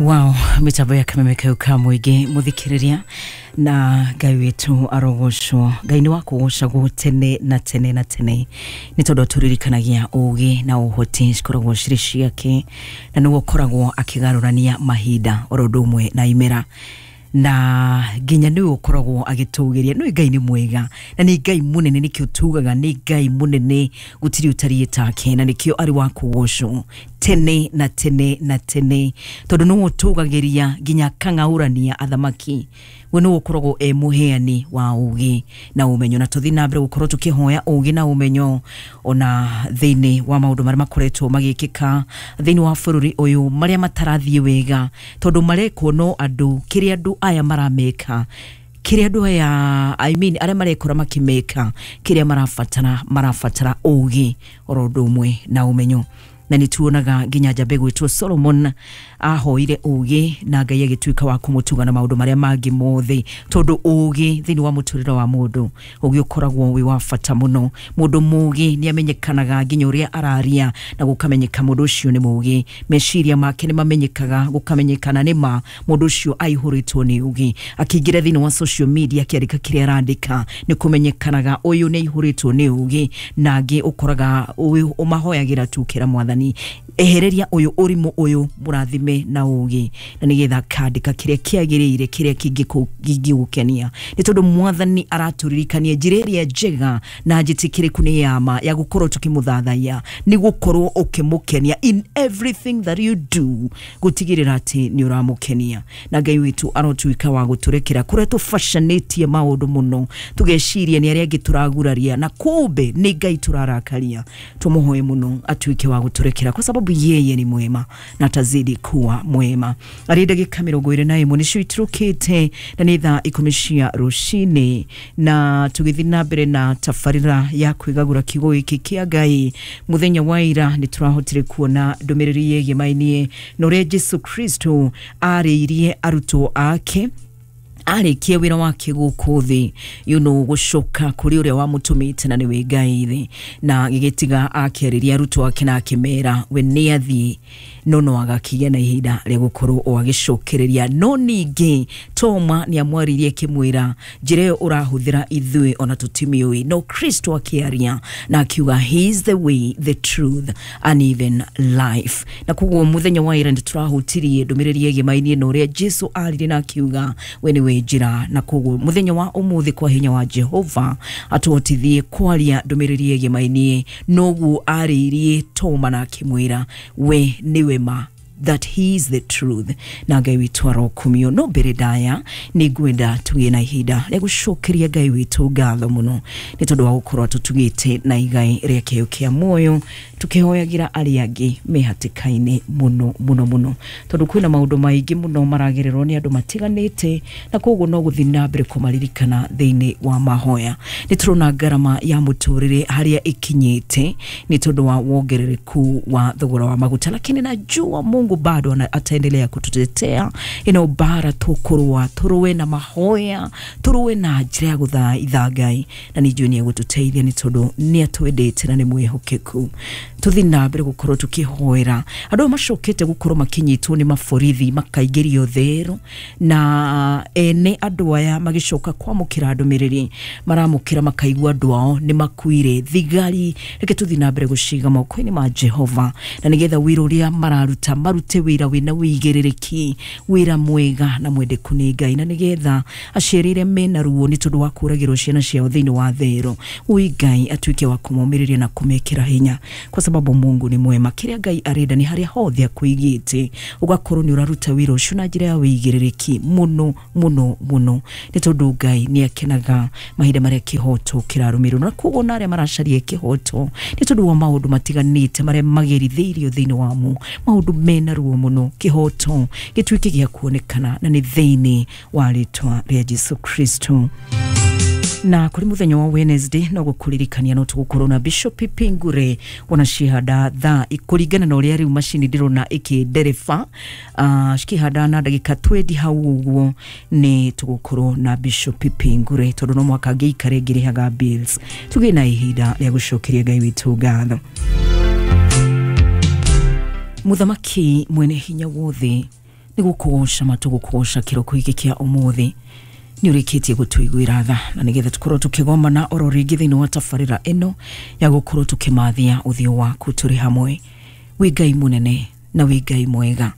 Wow, mitambo ya kameme kau ka mũingĩ mũthikĩrĩria na Ngai witũ arogocwo. Ngai nĩ wa kũgocagwo tene na tene na tene, nĩ tondũ atũririkanagia ũgĩ na ũhoti cikoragwo cirĩ ciake, na nĩwe ũkoragwo akĩgarũrania mahinda oro ũndũ ũmwe na imera, na nginya nĩwe ũkoragwo agĩtũgĩria. Nĩ Ngai nĩ mwega na nĩ Ngai mũnene, nĩkĩo tugaga nĩ Ngai mũnene, gũtirĩ ũtariĩ take, na nĩkĩo arĩ wa kũgocwo tene na tene na tene, tondũ nĩwe ũtũgagĩria nginya akang'aũrania athamaki. We nĩwe ũkoragwo e mũheani wa ũgĩ na ũmenyo, na tũthiĩ na mbere gũkorwo tũkĩhoya ũgĩ na ũmenyo ona thĩinĩ wa maũndũ marĩa makoretwo magĩkĩka thĩinĩ wa bũrũri ũyũ, marĩa matarathiĩ wega, tondũ marekwo no andũ, kĩrĩa andũ aya marameka, kĩrĩa andũ aya, I mean, arĩa marekora makĩmeka, kĩrĩa marabatara ũgĩ oro ũndũ ũmwe na ũmenyo. Na nĩ tuonaga nginya njamba ĩgwĩtwo Solomon ahoire ũgĩ na Ngai agĩtuĩka wa kũmũtuga na maũndũ marĩa mangĩ mothe, tondũ ũgĩ thĩinĩ wa mũtũrĩre wa mũndũ, ũgĩ ũkoragwo wĩ wa bata mũno. Mũndũ mũgĩ nĩ amenyekanaga nginya ũrĩa araria, na gũkamenyeka mũndũ ũcio nĩ mũgĩ, meciria make nĩ mamenyekaga, gũkamenyekana nĩ ma mũndũ ũcio aihũrĩtwo nĩ ũgĩ. Akĩingĩra thĩinĩ wa social media akĩandĩka kĩrĩa arandĩka, nĩ kũmenyekanaga ũyũ nĩ aihũrĩtwo nĩ ũgĩ. Na angĩ ũkoraga ũmahoyagĩra tu kĩra mwathani ehereria ũyũ ũrimũ ũyũ, mũrathime na ũgĩ, na nĩgetha akandĩka kĩrĩa kĩagĩrĩire, kĩrĩa kĩngĩgũkenia, nĩ tondũ mwathani aratũririkania njĩra ĩrĩa njega na njĩtĩkĩrĩku nĩ yama ya gũkorwo tũkĩmũthathaiya, nĩ gũkorwo ũkĩmũkenia in everything that you do, gũtigĩrĩra atĩ nĩ ũramũkenia. Na Ngai witũ arotuĩka wa gũtũrekera kũrĩa tũbacanĩtie maũndũ mũno, tũgeciria nĩ arĩa angĩ tũraguraria, na kumbe nĩ Ngai tũrarakaria. Tũmũhoe mũno atuĩke wa gũtũrekera, kwa sababu yeye ni mwema na atazidi kuwa mwema. Arĩ ndagĩka 21 nĩcio iturũkĩte na nĩ thaa 10 cia rũcinĩ, na tũgĩthiĩ na mbere na tabarĩra ya kwĩgagũra kiugo gĩkĩ kĩa Ngai. Mũthenya wa ira nĩ tũrahotire kuona ndũmĩrĩri yĩgĩmainie na ũrĩa Jesu Kristo arĩirie arutwo ake arĩkie wĩra wake gũkũ thĩ, gũcoka kũrĩ ũrĩa wamũtũmĩte na nĩwe Ngai thĩ, na gĩgĩtiga akĩarĩria arutwo ake na akĩmera we nĩ athiĩ, no no agakĩgĩa na ihinda rĩa gũkorwo o agĩcokereria. No ningĩ Toma nĩ amwaririe akĩmwĩra njĩra ĩyo ũrahũthĩra ithuĩ ona tũtimĩũĩ, no Kristo akĩaria na akiuga he is the way, the truth and even life. Na koguo mũthenya wa ira nĩ tũrahutirie ndũmĩrĩri ĩgĩmainie na ũrĩa Jesu aririe na akiuga we nĩwe njĩra, na koguo mũthenya wa ũmũthĩ kwa hinya wa Jehova atũhotithie kwaria ndũmĩrĩri ĩgĩmainie noguo arĩirie Toma na akĩmwĩra we nĩwe ma, that he is the truth. Na Ngai witũ arokumio. No mbere ndaya nĩ ngwenda tũgĩe na ihinda rĩa gũcokeria Ngai witũ ngatho mũno, nĩ tondũ wa gũkorwo atũtugĩte na igai rĩa kĩheo kĩa muoyo, tũkĩhoyagĩra arĩa angĩ me hatĩka-inĩ mũno mũno mũno, tondũ kwĩna maũndũ maingĩ mũno maragererwo nĩ andũ matiganĩte, na koguo no gũthiĩ na mbere kũmaririkana thĩinĩ wa mahoya. Nĩ tũrona ngarama ya mũtũrĩre harĩa ĩkinyĩte nĩ tondũ wa wongerereku wa thogora wa maguta, lakini najua Mungu bado ataendelea kututetea. Ino bara tũkũrũa, tũrũe na mahoya, tũrũe na njĩra ya gũthaitha Ngai, na nĩ njũĩ nĩ egũtũteithia, nĩ tondũ nĩ atwendete na nĩ mwĩhokeku. Tũthiĩ na mbere gũkorwo tũkĩhoera andũ aya macokete gũkorwo makĩnyitwo nĩ maborithi makaingĩrio thero, na ene andũ aya magĩcoka kwamũkĩra ndũmĩrĩri maramũkĩra makaigua andũ ao nĩ makuire. Thigari reke tũthiĩ na mbere gũciga moko-inĩ ma Jehova, na nĩgetha wĩra ũrĩa mararuta marute wĩra wĩna wĩigĩrĩrĩki, wĩra mwega na mwendeku nĩ Ngai, na nĩgetha aciari arĩa mena ruo nĩ tondũ wa kũragĩrwo ciana ciao thĩinĩ wa thero, ũi Ngai atuĩke wa kũmomĩrĩria na kũmekĩra hinya, kwa sababu Mungu ni mwema. Kĩrĩa Ngai arenda nĩ harĩa hothe akũigĩte ũgakorwo nĩ ũraruta wĩra ũcio na njĩra ya wĩigĩrĩrĩki mũno mũno mũno, nĩ tondũ Ngai nĩ akenaga mahinda marĩa kĩhoto kĩrarũmĩrĩrwo. Na koguo na arĩa maracaria kĩhoto nĩ tondũ wa maũndũ matiganĩte marĩa magerithĩirio thĩinĩ wamo, maũndũ mena ruo mũno, kĩhoto gĩtuĩke gĩa kuonekana, na nĩ thĩinĩ wa rĩtwa rĩa Jesu Kristo. Na kuri muthenya wa Wednesday no gukuririkania no tugukorwo na Bishop Pingure ona cihanda thaa kuringana na uria riu macini ndirona ikindereba cikihanda na ndagika 20 hau uguo ni tugukorwo na Bishop Pingure tondu no mwaka ngiikare ngirihaga bills. Tugie na ihinda ria gucokeria Ngai witu ngatho. Muthamaki mwene hinya wothe Nĩ gũkũgoca matũgũkũgoca kĩroko gĩkĩ kĩa ũmũthĩ. Nĩ ũrĩkĩtie gũtũiguĩra tha na nĩgetha tũkorwo tũkĩgomana oro rĩngĩ thĩinĩ wa tabarĩra ĩno ya gũkorwo tũkĩmathia ũthiũ waku tũrĩ hamwe. Wĩ Ngai mũnene na wĩ Ngai mwega,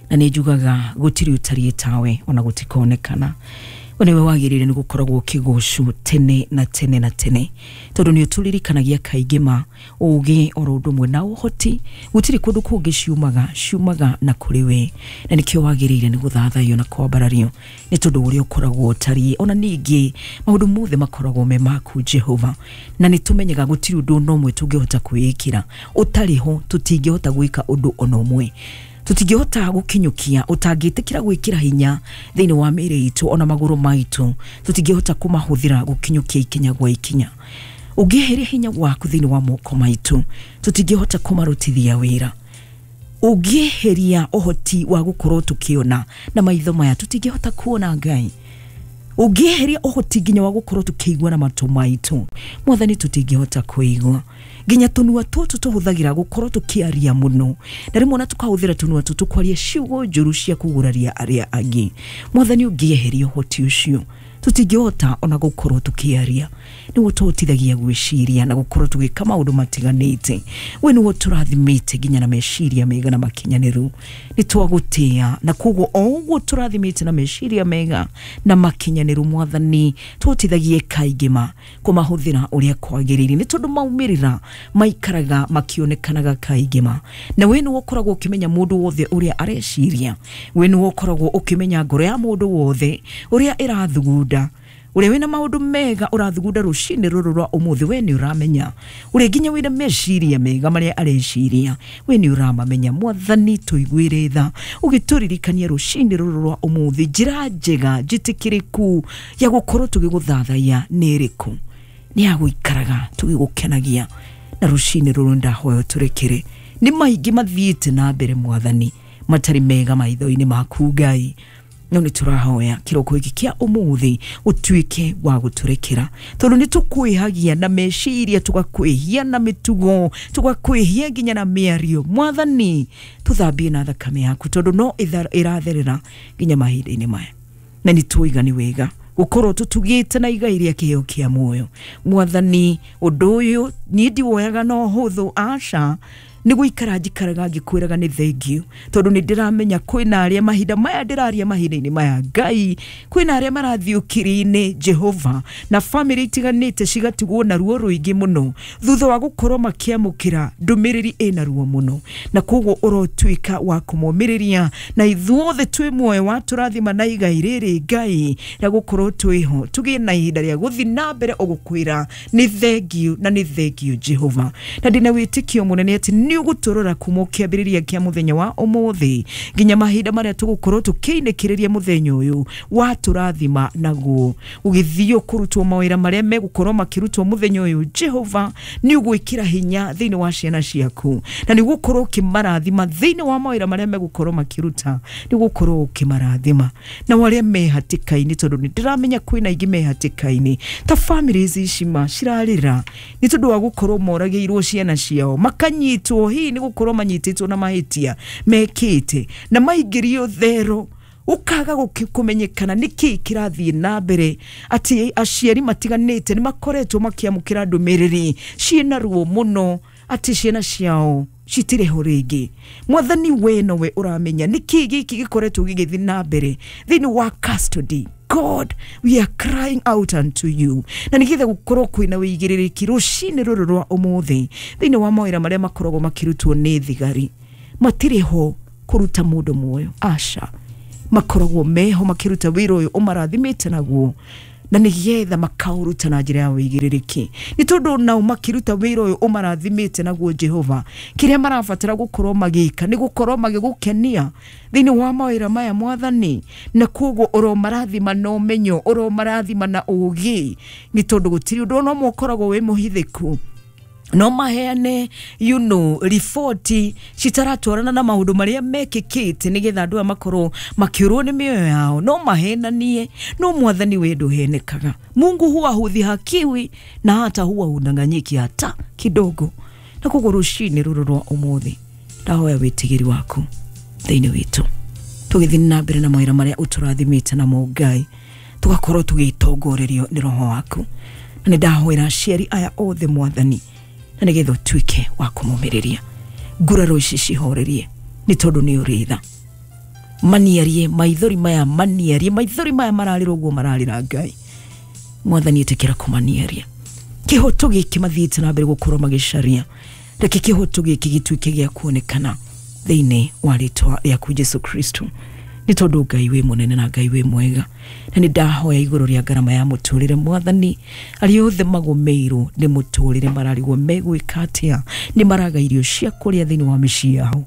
na nĩ njugaga gũtirĩ ũtariĩ tawe ona gũtikonekana. We nĩwe wagĩrĩire nĩ gũkoragwo ũkĩgocwo tene na tene na tene, tondũ nĩ ũtũririkanagia kaingĩ ma ũgĩ oro ũndũ ũmwe na ũhoti. Gũtirĩ kũndũ kũngĩ ciumaga, ciumaga na kũrĩ we, na nĩkĩo wagĩrĩire nĩ gũthathaiyo na kwambarario nĩ tondũ ũrĩa ũkoragwo ũtariĩ. Ona ningĩ maũndũ mothe makoragwo me maku Jehova, na nĩ tũmenyaga gũtirĩ ũndũ ona ũmwe tũngĩhota kwĩĩkĩra ũtarĩ ho. Tũtingĩhota gwĩka ũndũ ona ũmwe, tũtingĩhota gũkinyũkia ũtangĩtĩkĩra gwĩkĩra hinya thĩinĩ wa mĩĩrĩ itũ, ona magũrũ maitũ tũtingĩhota kũmahũthĩra gũkinyũkia ikinya gwa ikinya. Ũngĩeheria hinya waku thĩinĩ wa moko maitũ, tũtingĩhota kũmarutithia wĩra. Ũngĩeheria ũhoti wa gũkorwo tũkĩona na maitho maya, tũtingĩhota kuona Ngai. Ũngĩeheria ũhoti nginya wa gũkorwo tũkĩigua na matũ maitũ, Mwathani, tũtingĩhota kũigua. Nginya tũnua tũtũ tũhũthagĩra gũkorwo tũkĩaria mũno, na rĩmwe ona tũkahũthĩra tũnua tũtũ kwaria ciugo njũru cia kũguraria arĩa angĩ. Mwathani, ũngĩeheria ũhoti ũcio, tũtingĩhota ona gũkorwo tũkĩaria. Nĩwe ũtũhotithagia gwĩciria na gũkorwo tũgĩka maũndũ matiganĩte. We nĩwe ũtũrathimĩte nginya na meciria mega na makinyanĩru. Nĩ twagũtĩa, na koguo o ũguo tũrathimĩte na meciria mega na makinyanĩru, Mwathani, tũhotithagie kaingĩ ma kũmahũthĩra ũrĩa kwagĩrĩire, nĩ tondũ maumĩrĩra maikaraga makĩonekanaga kaingĩ ma. Na we nĩwe ũkoragwo ũkĩmenya mũndũ wothe ũrĩa areciria, we nĩwe ũkoragwo ũkĩmenya ngoro ya mũndũ wothe ũrĩa ĩrathugunda. Ũrĩa wĩna maũndũ mega ũrathugunda rũcinĩ rũrũ rwa ũmũthĩ, we nĩ ũramenya. Ũrĩa nginya wĩna meciria mega marĩa areciria, we nĩ ũramamenya. Mwathani, tũiguĩre tha ũgĩtũririkania rũcinĩ rũrũ rwa ũmũthĩ njĩra njega njĩtĩkĩrĩku ya gũkorwo tũgĩgũthathaiya nĩ ĩrĩkũ, nĩ ya gũikaraga tũgĩgũkenagia. Na rũcinĩ rũrũ ndahoya tũrekere nĩ maingĩ mathiĩte na mbere, Mwathani, matarĩ mega maitho-inĩ maku Ngai, no nĩ tũrahoya kĩroko gĩkĩ kĩa ũmũthĩ ũtuĩke wa gũtũrekera, tondũ nĩ tũkwĩhagia na meciria, tũgakwĩhia na mĩtugo, tũgakwĩhia nginya na mĩario. Mwathani, tũthambie na thakame yaku, tondũ no ĩratherera nginya mahinda-inĩ maya, na nĩ tũiga nĩ wega gũkorwo tũtugĩte na igai rĩa kĩheo kĩa muoyo. Mwathani, ũndũ ũyũ niĩ ndiwoyaga na ũhũthũ, aca. Nĩ gũikara njikaraga ngĩkwĩraga nĩ thengiũ, tondũ nĩ ndĩramenya kwĩna arĩa mahinda maya ndĩraria, mahinda-inĩ maya Ngai, kwĩna arĩa marathiĩ ũkiri-inĩ Jehova, na bamĩrĩ itiganĩte cigatigwo na ruo rũingĩ mũno thutha wa gũkorwo makĩamũkĩra ndũmĩrĩri ĩna ruo mũno. Na koguo ũrotuĩka wa kũmomĩrĩria, na ithuothe twĩ muoyo watũrathima na igai rĩrĩ Ngai rĩa gũkorwo twĩho, tũgĩe na ihinda rĩa gũthiĩ na mbere ũgũkwĩra nĩ thengiũ na nĩ thengiũ Jehova. Na ndĩna wĩtĩkio mũnene atĩ nĩ ũgũtũrora kuma kĩambĩrĩria kĩa mũthenya wa ũmũthĩ nginya mahinda marĩa tũgũkorwo tũkĩinĩkĩrĩria mũthenya ũyũ watũrathima naguo, ũgĩthiĩ kũrutwo mawĩra marĩa megũkorwo makĩrutwo mũthenya ũyũ. Jehova, nĩ ũgwĩkĩra hinya thĩinĩ wa ciana ciaku, na nĩ ũgũkorwo ũkĩmarathima thĩinĩ wa mawĩra marĩa megũkorwo makĩruta, nĩ ũgũkorwo ũkĩmarathima. Na arĩa me hatĩka-inĩ, tondũ nĩ ndĩramenya kwĩna aingĩ me hatĩka-inĩ, ta families ici ma cirarĩra nĩ tondũ wa gũkorwo moragĩirwo ciana ciao, makanyitwo hihi nĩ gũkorwo manyitĩtwo na mahĩtia mekĩte na maingĩrio thero, ũkaga kũmenyekana nĩkĩ kĩrathiĩ na mbere, atĩ aciari matiganĩte nĩ makoretwo makĩamũkĩra ndũmĩrĩri ciĩna ruo mũno atĩ ciana ciao citirĩ ho rĩngĩ. Mwathani, we nowe ũramenya nĩkĩ gĩkĩ gĩkoretwo gĩgĩthiĩ na mbere thĩinĩ wa custody. God, we are crying out unto you, na nĩgetha gũkorwo kwĩna wĩigĩrĩrĩki rũcinĩ rũrũ rwa ũmũthĩ thĩinĩ wa mawĩra marĩa makoragwo makĩrutwo nĩ thigari. Matirĩ ho kũruta mũndũ muoyo, aca. Makoragwo meho makĩruta wĩra ũyũ ũmarathimĩte naguo, na nĩgetha makaũruta na njĩra ya wĩigĩrĩrĩki, nĩ tondũ nao makĩruta wĩra ũyũ ũmarathimĩte naguo Jehova, kĩrĩa marabatara gũkorwo magĩka nĩ gũkorwo magĩgũkenia thĩinĩ wa mawĩra maya, Mwathani. Na koguo ũromarathima na ũmenyo, ũromarathima na ũgĩ, nĩ tondũ gũtirĩ ũndũ ona ũmwe ũkoragwo wĩ mũhithĩku. No maheane riboti citaratwarana na maũndũ marĩa mekĩkĩte, nĩgetha andũ aya makorwo makĩũrwo nĩ mĩoyo yao. No mahenanie, no Mwathani, we ndũhenekaga. Mungu huwa hudhihakiwi na hata huwa hudanganyiki hata kidogo. Na koguo rũcinĩ rũrũ rwa ũmũthĩ ndahoya wĩtigĩri waku thĩinĩ witũ. Tũgĩthiĩ na mbere na mawĩra marĩa ũtũrathimĩte namo Ngai, tũgakorwo tũgĩtongorerio nĩ roho waku. Na nĩ ndahoera aciari aya othe Mwathani, na nĩgetha ũtuĩke wa kũmomĩrĩria nguraro ici cihorerie, nĩ tondũ nĩ ũrĩ tha. Maniarie maithori maya, maniarie maithori maya mararĩra ũguo mararĩra Ngai. Mwathani ĩtĩkĩra kũmaniaria kĩhoto gĩkĩ mathiĩte na mbere gũkorwo magĩcaria. Reke kĩhoto gĩkĩ gĩtuĩke gĩa kuonekana thĩinĩ wa rĩtwa rĩaku Jesu Kristo, nĩ tondũ Ngai wĩ mũnene na Ngai wĩ mwega. Na nĩ ndahoya igũrũ rĩa ngarama ya mũtũrĩre Mwathani, arĩa othe magũmĩirwo nĩ mũtũrĩre mararigwo megwĩka atĩa, nĩ maraga irio cia kũrĩa thĩinĩ wa mĩciĩ yao,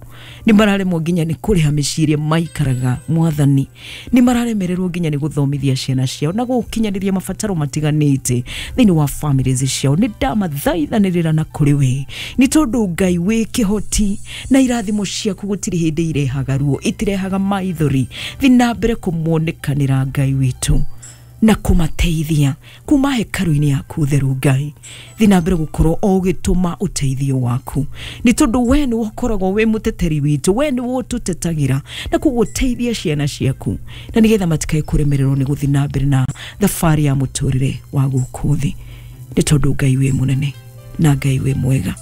nĩ mararemwo nginya nĩ kũrĩha mĩciĩ ĩrĩa maikaraga Mwathani, nĩ mararemererwo nginya nĩ gũthomithia ciana ciao na gũkinyanĩria mabataro matiganĩte thĩinĩ wa families ciao. Nĩ ndamathaithanĩrĩra na kũrĩ we, nĩ tondũ Ngai wĩ kĩhoti na irathimo ciaku gũtirĩ hĩndĩ irehaga ruo, itirehaga maithori. Thiĩ na mbere kũmonekanĩra Ngai witũ na kũmateithia kuma hekarũ-inĩ yaku theru Ngai. Thiĩ na mbere gũkorwo o ũgĩtũma ũteithio waku, nĩ tondũ we nĩwe ũkoragwo wĩ mũteteri witũ, we nĩwe ũtũtetagĩra na koguo teithia ciana ciaku, na nĩgetha matikae kũremererwo nĩ gũthiĩ na mbere na thabarĩ ya mũtũrĩre wa gũkũ thĩ, nĩ tondũ Ngai wĩ mũnene na Ngai wĩ mwega.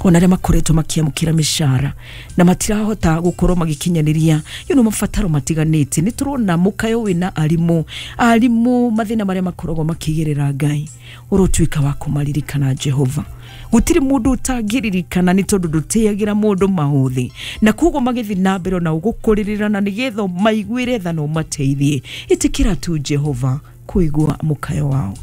Ona arĩa makoretwo makĩamũkĩra mĩcara na matirahota gũkorwo magĩkinyanĩria mabataro matiganĩte, nĩ tũrona mũkayo wĩna arimũ, arimũ mathĩna marĩa makoragwo makĩgerera Ngai, ũrotuĩka wa kũmaririkana Jehova. Gũtirĩ mũndũ ũtangĩririkana, nĩ tondũ ndũtĩagĩra mũndũ maũthĩ, na koguo magĩthiĩ na mbere na ũgũkũrĩrĩra na nĩgetha maiguĩre tha na ũmateithie. Ĩtĩkĩra tu Jehova kũigua mũkayo wao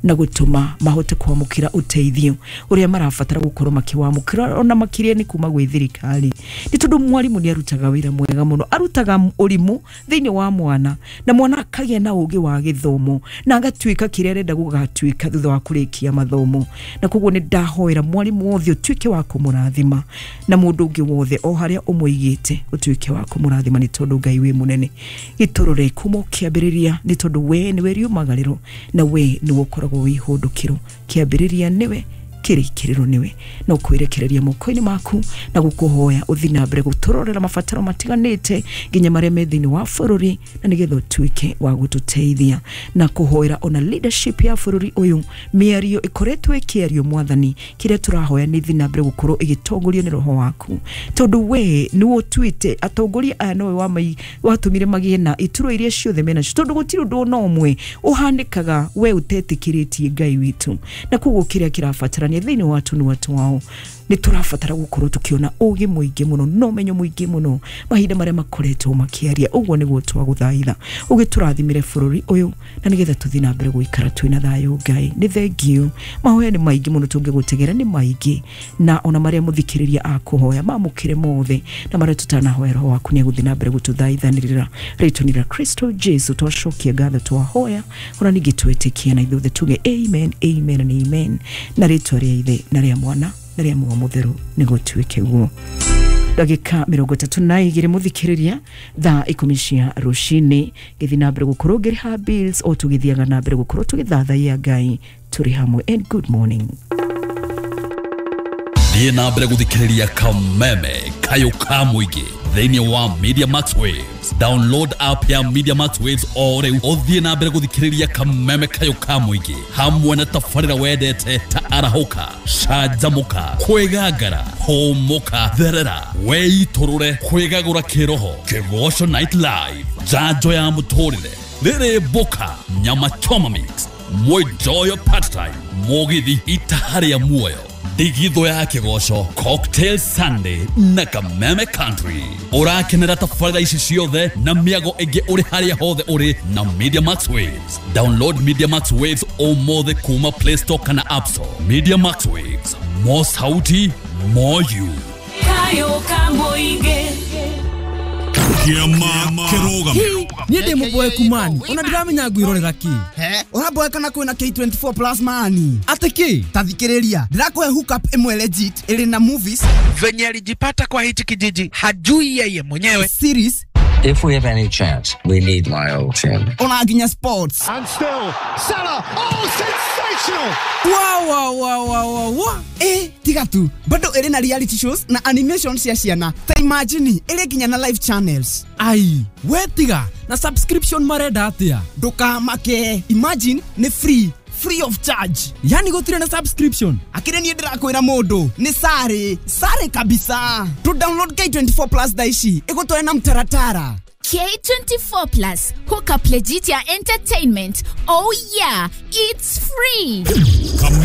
na gũtũma mahote kwamũkĩra ũteithio ũrĩa marabatara gũkorwo makĩwamũkĩra, ona makĩria nĩ kuma gwĩ thirikari, nĩ tondũ mwarimũ nĩ arutaga wĩra mwega mũno, arutaga ũrimũ thĩinĩ wa mwana na mwana akagĩa na ũgĩ wa gĩthomo na agatuĩka kĩrĩa arenda gũgatuĩka thutha wa kũrĩkia mathomo. Na koguo nĩ ndahoera mwarimũ wothe ũtuĩke wa kũmũrathima, na mũndũ ũngĩ wothe o harĩa ũmũigĩte ũtuĩke wa kũmũrathima, nĩ tondũ Ngai wĩ mũnene. Gĩtũrore kuma ũkĩambĩrĩria, nĩ tondũ we nĩwe riumagarĩro na we nĩwe ũkoragwo wĩ ihũndũkĩro. Kĩambĩrĩria nĩwe, kĩrĩkĩrĩro nĩwe, na ũkwĩrekereria moko-inĩ maku na gũkũhoya ũthiĩ na mbere gũtũrorera mabataro matiganĩte nginya marĩa me thĩinĩ wa bũrũri, na nĩgetha ũtuĩke wa gũtũteithia na kũhoera ona leadership ya bũrũri ũyũ. Mĩario ĩkoretwo ĩkĩario Mwathani, kĩrĩa tũrahoya nĩ thiĩ na mbere gũkorwo ĩgĩtongorio nĩ roho waku, tondũ we nĩwe ũtuĩte atongoria aya, nowe watũmire magĩe na ituro iria ciothe menacio, tondũ gũtirĩ ũndũ ona ũmwe ũhanĩkaga we ũtetĩkĩrĩtie Ngai witũ. Na koguo kĩrĩa kĩrabatarania thĩinĩ wa tũnua twao, nĩ tũrabatara gũkorwo tũkĩona ũgĩ mũingĩ mũno na ũmenyo mũingĩ mũno mahinda marĩa makoretwo makĩaria. Ũguo nĩguo twagũthaitha ũgĩtũrathimĩre bũrũri ũyũ, na nĩgetha tũthiĩ na mbere gũikara twĩna thayũ. Ngai nĩ thengiũ, mahoya nĩ maingĩ mũno tũngĩgũtegera nĩ maingĩ, na ona marĩa mũthikĩrĩria akũhoya mamũkĩre mothe, na marĩa tũtanahoya roho waku nĩ egũthiĩ na mbere gũtũthaithanĩrĩra. Rĩtwa-inĩ rĩa Kristo Jesu twacokia ngatho twahoya, ona ningĩ twĩtĩkia, na ithuothe tuge amen, amen and amen, na rĩtwa rĩa Ithe na rĩa Mwana na rĩa Muoyo Mũtheru nĩgũtuĩke guo. Ndagĩka 32 mũthikĩrĩria, thaa 10 cia rũcinĩ, ngĩthiĩ na mbere gũkorwo ngĩrĩha bills o tũgĩthiaga na mbere gũkorwo tũgĩthathaiya Ngai tũrĩ hamwe. And good morning. Thiĩ na mbere gũthikĩrĩria Kameme Kayũ ka Mũingĩ thĩinĩ wa Media Max Waves. Download app ya Media Max Waves o rĩu ũthiĩ na mbere gũthikĩrĩria Kameme Kayũ ka Mũingĩ hamwe na tabarĩra wendete ta arahũka, canjamũka, kwĩgangara, hũmũka, therera, weitũrũre, kwĩgagũra kĩroho, Kĩgoco Night Live, njanjo ya mũtũrĩre, rĩrĩ mboka, nyama choma mix, mwenjoyo part time, mũgithi itaha rĩa muoyo, ndigithũ ya kĩgoco, Cocktail Sunday na Kameme Country. Ũrakenera tabarĩra ici ciothe na mĩago ĩngĩ ũrĩ harĩa hothe ũrĩ na Media Max Waves. Download Media Max Waves ũmũthĩ kuma Play Store kana App Store. Media Max Waves, more sauti, more you. Kayũ ka Mũingĩ. Kĩama kĩrũgame. Niĩ ndĩ mũboeku mani, ona ndiramenya ngwĩrorera kĩ. He, ũramboeka na kwĩna K24 plus mani. Atĩ kĩ? Ta thikĩrĩria, ndĩrakũhe hookup ĩmwe legit ĩrĩ na movies. Venye alijipata kwa hichi kijiji hajui yeye mwenyewe. Series If we have any chance, we need my old team. Ona nginya sports. And still, Salah. Oh, sensational! Wa wa wa wa wa wa. Ĩ tiga tu, bado ĩrĩ na reality shows na animation cia ciana. Ta imagine ĩrĩ nginya na live channels. Ai, we tiga na subscription marenda atia? Ndũkamake, imagine nĩ free, free of charge. Yani gũtirĩ na subscription? Akĩrĩ niĩ ndĩrakwĩra mũndũ nĩ sare sare kabisa. Tu download K24 Plus thaa ici ĩgũtware na mtaratara. K24 Plus, hook up legit ya entertainment. Oh yeah, it's free.